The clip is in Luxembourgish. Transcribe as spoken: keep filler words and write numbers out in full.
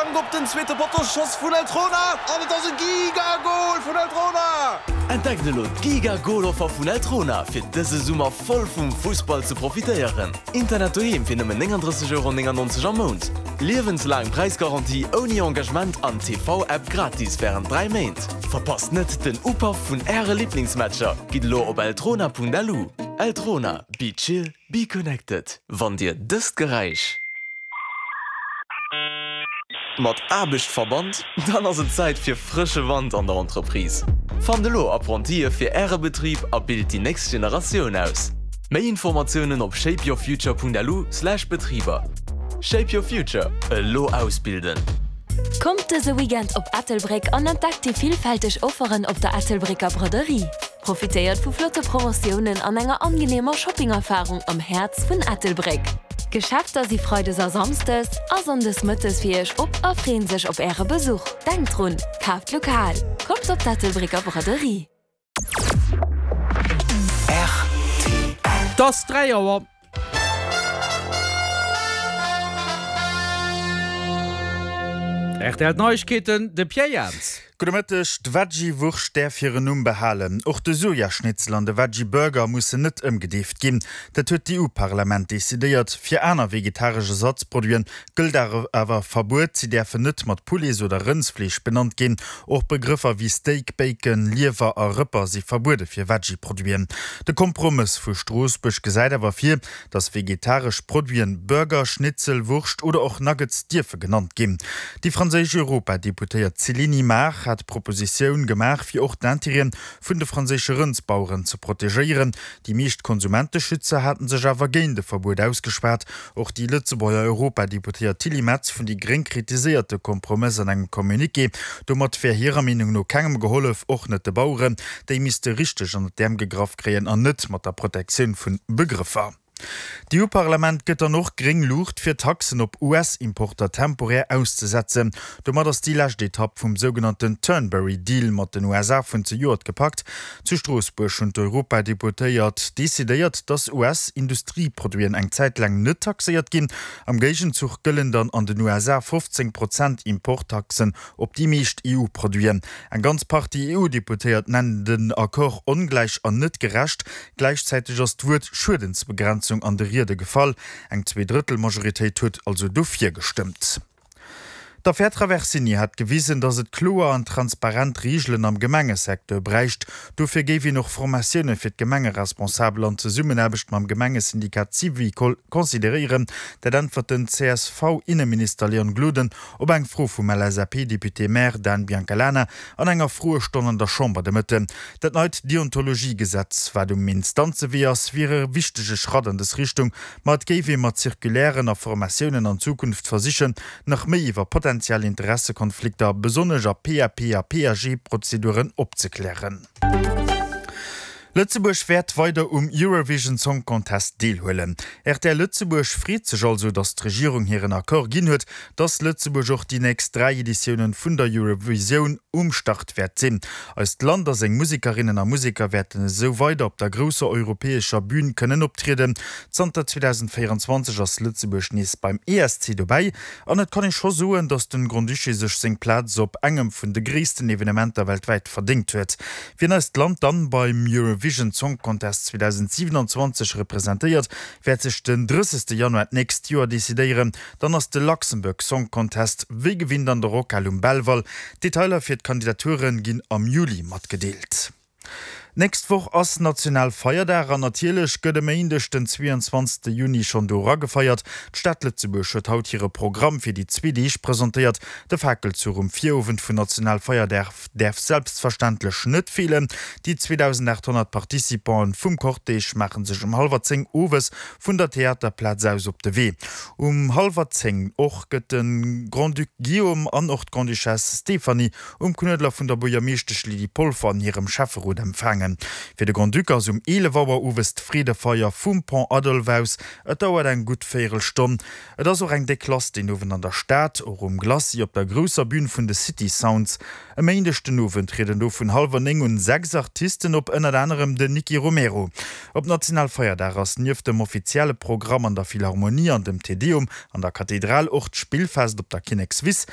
Flank op den zweete Potto, Schoss vun Eltrona an et ass e Gigagol vun Eltrona! Entdeckt elo d'Giga-Goal-Offer vun Eltrona fir dëse Summer voll vum Fussball ze profitéieren. Internet doheem fir nëmmen nénganddrësseg Euro néngannonzeg am Mount. Liewenslaang Präisgarantie ouni Engagement an T V-App gratis wärend dräi Méint. Verpasst net den Upaff vun äre Liblingsmatcher. Gitt elo op eltrona Punkt L U. Eltrona, be chill, be connected. Wann dir dëst Geräisch mat Aarbecht verbannt, dann ass et Zäit fir frësche Wand an der Entreprise. Fannt elo Apprentië fir äre Betrib a bilt déi nächst Generatioun aus. Méi Informatiounen op shapeyourfuture Punkt L U slash Betriber. Shape Your Future, elo ausbilden. Kommt dëse Weekend op Ettelbréck an entdeckt déi villfälteg Offeren op der Ettelbrécker Braderie. Profitéiert vu flotte Promotiounen an enger angeneemer Shoppingerfarung am Häerz vun Ettelbréck. D'Geschäfter si freides a samschdes a sonndes mëttes fir iech op a freeën sech op äre Besuch. Denkt drun, kaaft lokal. Kommt op d'Ettelbrécker Braderie. Et ass dräi Auer. R T L Neiegkeeten, de Pierre Jans. Gudde Mëtteg. D'Veggie-Wurscht däerf hiren Numm behalen. Och de Sojaschnitzel an de Veggie-Burger mussen net ëmgedeeft ginn. Dat huet d'E U-Parlament decidéiert. Fir aner vegetaresch Ersatzproduiten gëllt awer Verbuet. Si däerfen net mat Poulets oder Rëndsfleesch benannt ginn. Och Begrëffer wéi Steak, Bacon, Liewer a Rëpper si verbuede fir Veggie-Produiten. De Kompromëss vu Stroossbuerg gesäit awer vir, dass vegetaresch Produiten Burger, Schnitzel, Wurscht oder och Nuggets dierfe genannt ginn. Déi franséisch Europadeputéiert Céline Imart hat d'Propositioun gemaach, fir och d'Intérêten vun de franséische Rëndsbaueren ze protegéieren. Déi meescht Konsumenteschützer haten sech awer géint de Verbuet ausgeschwat. Och déi Lëtzebuerger Europadeputéiert Tilly Metz vun déi Gréng kritiséiert de Kompromëss an engem Communiqué. Domat wär hirer Meenung no kengem gehollef, och net de Baueren. Déi misste richteg ënnert d'Äerm gegraff kréien an net mat der Protektioun vun Begrëffer. D'E U-Parlament gëtt dann och gréng Luucht fir Taxen op U S-Importer temporär auszesetzen. Domat ass déi lescht Etapp vum sougenannten Turnberry Deal mat den U S A vun zejoert gepackt. Zu Stroossbuerg hunn d'Europadeputéiert decidéiert, dass U S-Industrieproduiten eng Zäit laang net taxéiert ginn. Am Géigenzuch gëllen dann an den U S A fofzéng Prozent Importtaxen op déi meescht E U-Produiten. Eng ganz Partie E U-Deputéiert nennen den Accord ongläich an net gerecht. Gläichzäiteg ass d'Wuert Schuedensbegrenzung an de Riede gefall. Eng Zweedrëttelmajoritéit huet also dofir gestëmmt. D'Affär Traversini hat gewisen, datt et kloer an transparent Reegelen am Gemengesecteur bräicht. Dofir géif een och Formatioune fir d'Gemengeresponsabel an Zesummenaarbecht mam Gemengesyndikat Syvicol consideréieren. Dat äntwert den C S V-Inneminister Leon Gloden op eng Fro vum L S A P-Député-Maire Dan Biancalana an enger Froestonn an der Chamber de Mëtten. Dat neit Deontologiegesetz, wat um Instanzewee ass, wier e wichtege Schratt an dës Richtung, ma et géif ee mat Circulairen a Formatiounen an Zukunft versichen, nach méi iwwer potentiell Interessekonflikter, besonnesch a P A P a P A G-Prozeduren opzeklären. Lëtzebuerg wäert weider um Eurovision Song Contest deelhuelen. R T L Lëtzebuerg freet sech also, datt d'Regierung hiren Accord ginn huet, datt Lëtzebuerg och déi nächst dräi Editiounen vun der Eurovisioun um Start wäert sinn. Eist Land a seng Musekerinnen a Museker wäerten esou weider op der grousser europäescher Bün kënnen optrieden. Zanter zweedausendvéierenzwanzeg ass Lëtzebuerg nees beim E S C dobäi an et kann ee scho soen, datt de Grand-Duché sech seng Plaz op engem vun de gréissten Evenementer weltwäit verdéngt huet. Wien eist Land dann beim Eurovision Song Contest zweedausendsiwenanzwanzeg representéiert, wäert sech den drëssegste Januar d'nächst Joer decidéieren. Dann ass de Luxembourg Song Contest wéi gewinnt an der Rockhal um Belval. Detailer fir d'Kandidature ginn am Juli matgedeelt. Nächst Woch ass Nationalfeierdag an natierlech gëtt e Méindeg den zweeënzwanzegste Juni schonn do eragefeiert. D'Stad Lëtzebuerg huet haut hire Programm fir déi zwee Deeg presentéiert. De Fakelzuch um Virowend vun Nationalfeierdag däerf selbstverständlech net feelen. Déi zweedausendaathonnert Participanten vum Cortège maache sech um hallwer zéng owes vun der Theaterplaz aus op de Wee. Um hallwer zéng och gëtt de Grand-Duc Guillaume an och d'Grande-Duchesse Stéphanie um Knuedler vun der Buergermeeschtesch Lydie Polfer an hirem Schäfferot empfaangen. Fir de Grand-Duc ass um eelef Auer owes d'Freedefeier vum Pont Adolphe aus. Et dauert eng gutt Véierelstonn. Et ass och eng déck lass deen Owend an der Stad, och um Glacis op der grousser Bün vun de City Sounds. E Méindeg den Owend trieden do vun hallwer néng un sechs Artisten op, ënnert anerem den Nicky Romero. Op Nationalfeierdag ass nieft dem offizielle Programm an der Philharmonie an dem Te Deum an der Kathedral och d'Spillfest op der Kinnekswiss.